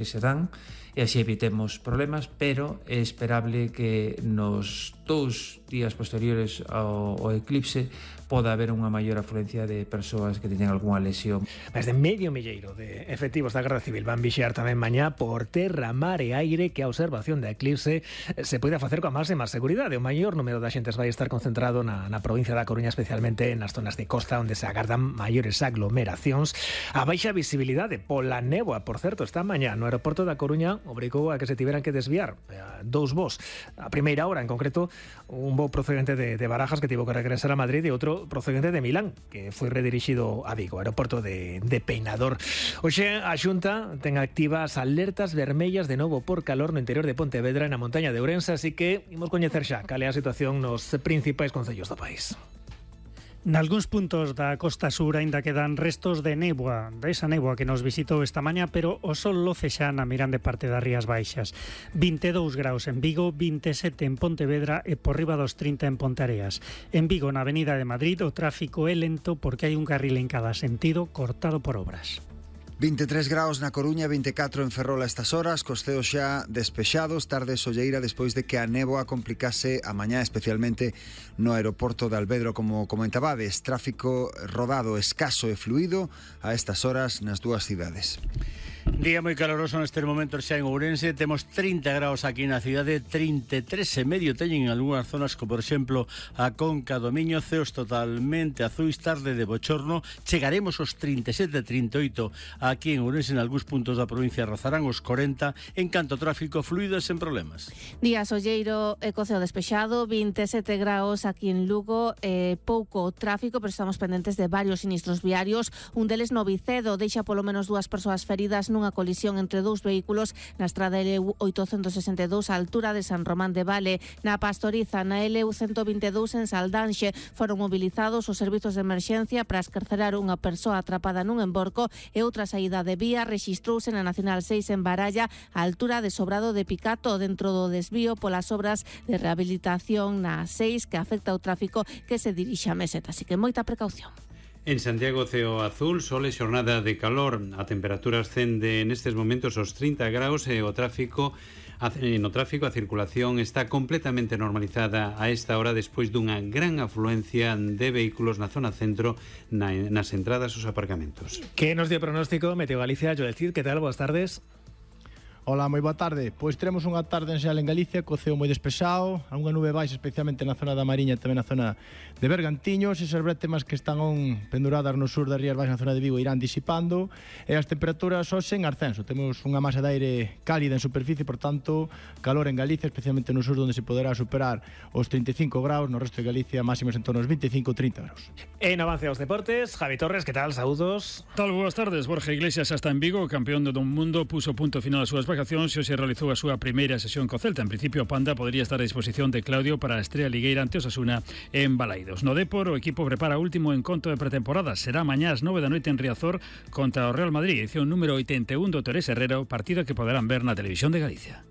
que se dan e así evitemos problemas, pero é esperable que nos 2 días posteriores ao eclipse poda haber unha maior afluencia de persoas que teñen algunha lesión. Máis de medio milleiro de efectivos da Garda Civil van vixiar tamén mañá por terra, mar e aire que a observación da eclipse se poida facer coa máxima seguridade. O maior número de xentes vai estar concentrado na provincia da Coruña, especialmente nas zonas de costa onde se agardan maiores aglomeracións. A baixa visibilidade pola néboa, por certo, esta mañá no aeroporto da Coruña obrigou a que se tiveran que desviar 2 voos. A primeira hora, en concreto, un voo procedente de Barajas que tivo que regresar a Madrid e outro procedente de Milán, que foi redirixido a Vigo, aeroporto de Peinador. Hoxe a Xunta ten activas alertas vermellas de novo por calor no interior de Pontevedra e na montaña de Ourense, así que imos coñecer xa cal é a situación nos principais concellos do país. Nalgúns puntos da costa sur aínda quedan restos de néboa, desa néboa que nos visitou esta mañá, pero o sol loce xa na mirande parte das Rías Baixas. 22 graus en Vigo, 27 en Pontevedra e por riba dos 30 en Ponteareas. En Vigo, na Avenida de Madrid, o tráfico é lento porque hai un carril en cada sentido cortado por obras. 23 graus na Coruña, 24 en Ferrol a estas horas, cos ceos xa despexados, tarde solleira despois de que a néboa complicase a mañá, especialmente no aeroporto de Alvedro, como comentabades. Tráfico rodado, escaso e fluido a estas horas nas dúas cidades. Día moi caloroso neste momento xa en Ourense. Temos 30 graus aquí na cidade, 33 e medio teñen en algunhas zonas, como por exemplo a Conca do Miño, ceos totalmente azuis, tarde de bochorno. Chegaremos aos 37, 38 aquí en Ourense, en algúns puntos da provincia rozarán os 40, en canto tráfico fluido e sen problemas. Día solleiro e co ceo despexado, 27 graus aquí en Lugo, pouco tráfico, pero estamos pendentes de varios sinistros viarios. Un deles no Vicedo, deixa polo menos 2 persoas feridas nunha colisión entre 2 vehículos na estrada LU 862 á altura de San Román de Vale. Na Pastoriza, na LU 122 en Saldanxe, foron movilizados os servizos de emerxencia para escarcerar unha persoa atrapada nun emborco e outra saída de vía rexistrouse na Nacional 6 en Baralla á altura de Sobrado de Picato, dentro do desvío polas obras de rehabilitación na 6 que afecta o tráfico que se dirixe a Meseta, así que moita precaución. En Santiago, ceo azul, sol e xornada de calor. A temperatura ascende nestes momentos aos 30 graus e no tráfico a circulación está completamente normalizada a esta hora despois dunha gran afluencia de vehículos na zona centro nas entradas aos aparcamentos. Que nos dio pronóstico Meteo Galicia? Joel Cid, que tal? Boas tardes. Ola, moi boa tarde. Pois teremos unha tarde en xeral en Galicia co ceo moi despexado, a unha nube baixa especialmente na zona da Mariña e tamén na zona de Bergantiños. Esas brétemas que están penduradas no sur das Rías Baixas na zona de Vigo irán disipando e as temperaturas hoxe en ascenso. Temos unha masa de aire cálida en superficie, por tanto, calor en Galicia, especialmente no sur onde se poderá superar os 35 graus, no resto de Galicia máximos en torno aos 25-30 graus. En avance aos deportes, Javi Torres, que tal? Saúdos. Tal, boas tardes. Borja Iglesias hasta en Vigo, campeón do mundo, puso punto final ás súas vacacións e se realizou a súa primeira sesión co Celta. En principio, a Panda podería estar a disposición de Claudio para a estrea ligueira ante Osasuna en Balaidos. No Depor, o equipo prepara o último encontro de pretemporada. Será mañá ás 9 da noite en Riazor contra o Real Madrid, edición número 81 do Torres Herrero, partido que poderán ver na Televisión de Galicia.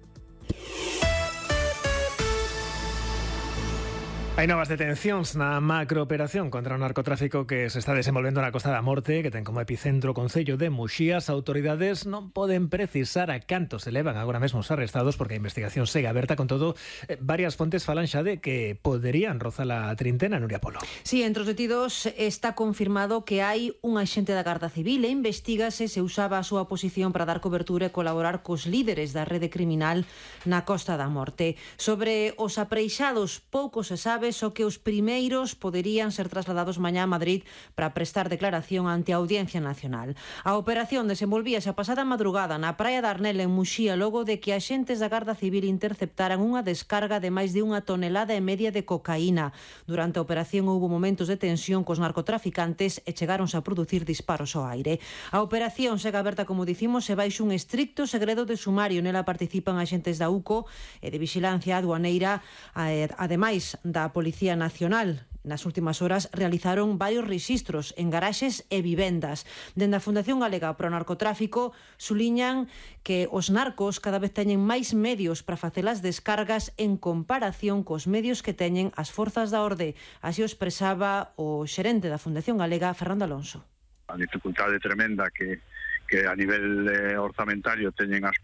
Hai novas detencións na macrooperación contra o narcotráfico que se está desenvolvendo na Costa da Morte, que ten como epicentro o concello de Muxía. As autoridades non poden precisar a canto se levan agora mesmo os arrestados porque a investigación segue aberta. Con todo, varias fontes falan xa de que poderían rozar a trintena. Nuria Polo. Sí, entre os detidos está confirmado que hai un axente da Garda Civil e investígase se usaba a súa posición para dar cobertura e colaborar cos líderes da rede criminal na Costa da Morte. Sobre os apreixados, pouco se sabe, só que os primeiros poderían ser trasladados mañá a Madrid para prestar declaración ante a Audiencia Nacional. A operación desenvolvíase a pasada madrugada na praia de Arnel en Muxía, logo de que axentes da Garda Civil interceptaran unha descarga de máis de 1,5 toneladas de cocaína. Durante a operación houbo momentos de tensión cos narcotraficantes e chegáronse a producir disparos ao aire. A operación segue aberta, como dicimos, e baixo un estricto segredo de sumario. Nela participan axentes da UCO e de Vixilancia Aduaneira, ademais da Policía Nacional. Nas últimas horas realizaron varios rexistros en garaxes e vivendas. Dende a Fundación Galega pro Narcotráfico suliñan que os narcos cada vez teñen máis medios para facer as descargas en comparación cos medios que teñen as forzas da orde. Así o expresaba o xerente da Fundación Galega, Fernando Alonso. A dificultade tremenda que a nivel orzamentario teñen as